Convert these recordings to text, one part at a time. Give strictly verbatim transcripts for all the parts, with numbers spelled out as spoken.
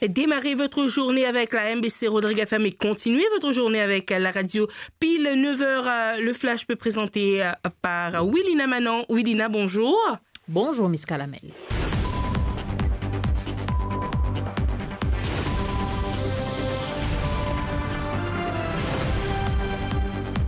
Démarrez votre journée avec la M B C Rodrigues F M et continuez votre journée avec la radio. Pile neuf heures, euh, le flash peut présenter, euh, par Willina Manon. Willina, bonjour. Bonjour, Miss Kalamel.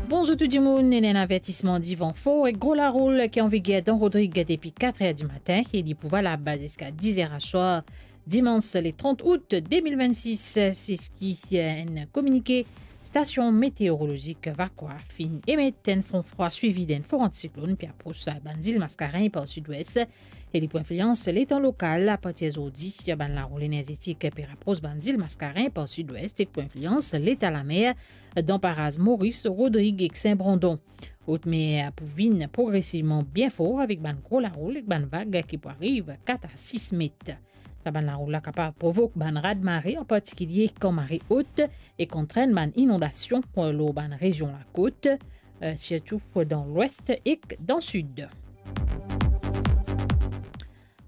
Bonzour tou dimounn, ena enn avertisman divan for ek gro laroul ki an viger dan Rodrig depi kat er dimatin e li pou valab ziska diz er aswar, dimans le trant out de mil vennsis. Se seki enn kominike stasion meteorolozik Vakoa finn emet. Enn fron frwa swivi d'enn for antisiklonn pe apros bann zil Maskarin par sidwes e li pou inflians letan lokal. Apartir zordi, bann laroul enerzetik pe rapros bann zil Maskarin par sidwes ek pou inflians leta lamer dan paraz Moris, Rodrig ek Sin Brandon. Otmer pou vinn progresivman bien for avek bann gro laroul ek bann vag ki pou ariv kat a sis met. Sa bann laroul la kapav provok bann raz-mare, an partikilie kan mare ot, e antrenn bann inondasion lor bann rezion lakot, eh, sirtou dan lwes ek dan sid.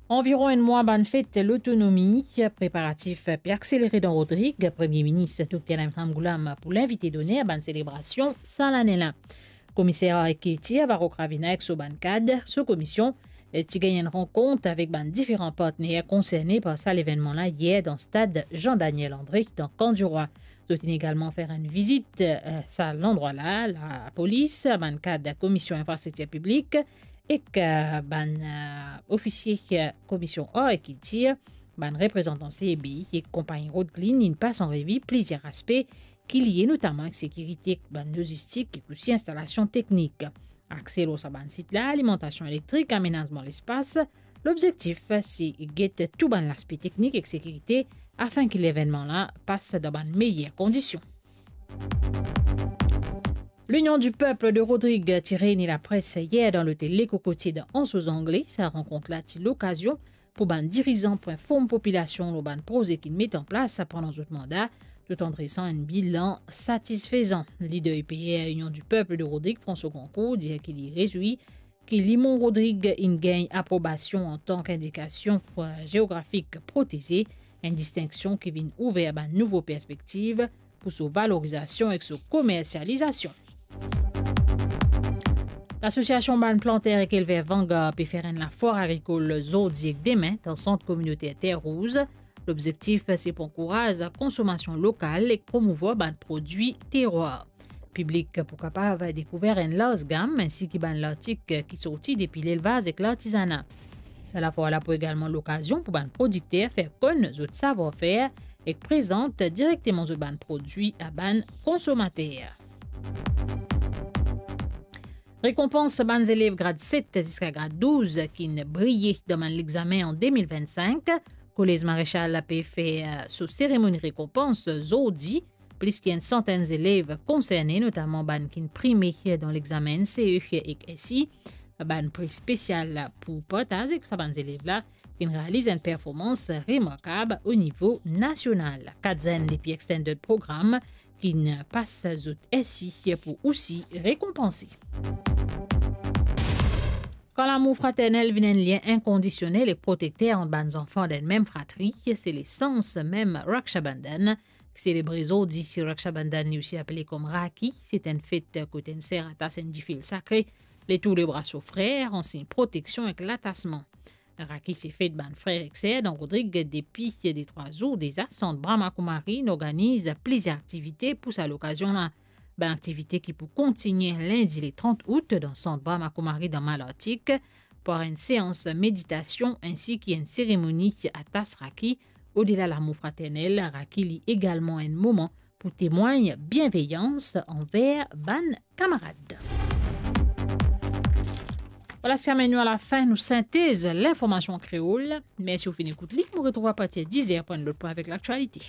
Anviron enn mwa bann fet lotonomi, preparatif pe akselere dan Rodrig. Premie Minis Dokter Naim Ramgoolam pou linvite doner bann selebrasion sa lane la. Komiser Ar ek Kiltir Varro Cravina ek so bann kad, so komisionn, eh, ti gagn enn rankont avek bann diferan partner konserne par sa levennman la yer dan stad Jean Daniel André dan Kan Dirwa. Zot inn egalman fer enn vizit, eh, sa landrwa la, lapolis, bann kad Komisionn Infrastriktir Piblik ek, eh, bann, eh, ofisie, eh, Komisionn Ar ek Kiltir, bann reprezantan C E B I ek konpagni Road Clean inn pas an revi plizier aspe ki lie notaman ek sekirite, bann lozistik ek osi instalasion teknik. Akse lor sa bann sit la, alimantasion elektrik, amenazman lespas. Lobzektif se get tou bann laspe teknik ek sekirite afin ki levennman la pas dan bann meyer kondision. L'Union du Peuple de Rodrig ti reyni lapres yer dan lotel Le Cocotier dan Anse aux Anglais. Sa rankont la ti lokazion pou bann dirizan pou inform popilasion lor bann proze ki'nn met an plas pandan zot manda, tout an dresan enn bilan satisfezan. Lider U P R Union du Peuple de Rodrig, François Grandcourt, dir ki li rezwi ki Limon Rodrig inn gagn aprobasion antan ki indikasion, eh, zeografik proteze, enn distinksion ki vinn ouver bann nouvo perspektiv pou so valorizasion ek so komersializasion. Lasosiasion bann planter ek elver Vanguard pe fer enn lafwar agrikol zordi ek demin dan sant kominoter Terre Rouge. Lobzektif se pou ankouraz konsomasion lokal ek promouvwar bann prodwi terwar. Piblik pou kapav dekouver enn larz gam, ensi ki bann lartik ki sorti depi lelvaz ek lartizana. Sa lafwar la pou egalman lokazion pou bann prodikter fer konn zot savwar-fer ek prezant direkteman zot bann prodwi a bann konsomater. Rekonpans bann zelev grad set ziska grad douz ki'nn briye dan bann lexame an de mil vinn-sink. Kolez Marechal pe fer so seremoni rekonpans zordi. Plis ki enn santenn zelev konserne, notaman bann ki'nn prime dan lexame N C E ek S I. Bann pri spesial pou partaz ek sa bann zelev la ki'nn realiz enn performans remarkab o nivo nasional. Kat zenn depi Extended Program ki'nn pas zot S I pou osi rekonpanse. Kan lamour fraternel vinn enn lien inkondisionel ek protekter ant bann zanfan dan enn mem fratri, se lesans mem Raksha Bandhan. Selebre zordi Raksha Bandhan, li osi apele kom Rakhi, se enn fet kot enn ser atas enn difil sakre letour lebra so frer, an sign proteksion ek latasman. Rakhi se fet bann frer ek ser dan Rodrig depi de trwa zour deza. Sant Brahma Kumari inn organiz plizier aktivite pou sa lokazion la. Bann aktivite ki pou kontigne lindi le trant out dan Sant Brahma Kumari dan Malartik, par enn seans meditasion ensi ki enn seremoni atas Rakhi. Odela lamour fraternel, Rakhi li egalman enn moman pou temwagn bienveyans anver bann kamarad. Vwala, sa amenn nou a lafin nou sintez linformasion an kreol. Mersi ou finn ekout li. Nou retrouv apartir diz er pou enn lot pwin avek laktialite.